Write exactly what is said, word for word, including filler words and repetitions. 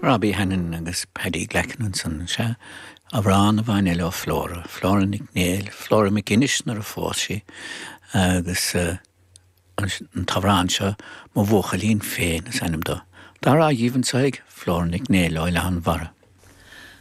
Robbie Hannan agus Paddy Glackin ansan sea amhrán a bhain le Flora, Flora Nic Néill, Flora McGuinness nuair a phós sí agus uh, an t-amhrán seo mo bhuachaillín féin is ainm dó. Dá rá dhíhan saig Flora Nic Néill ó Oileán Bharra.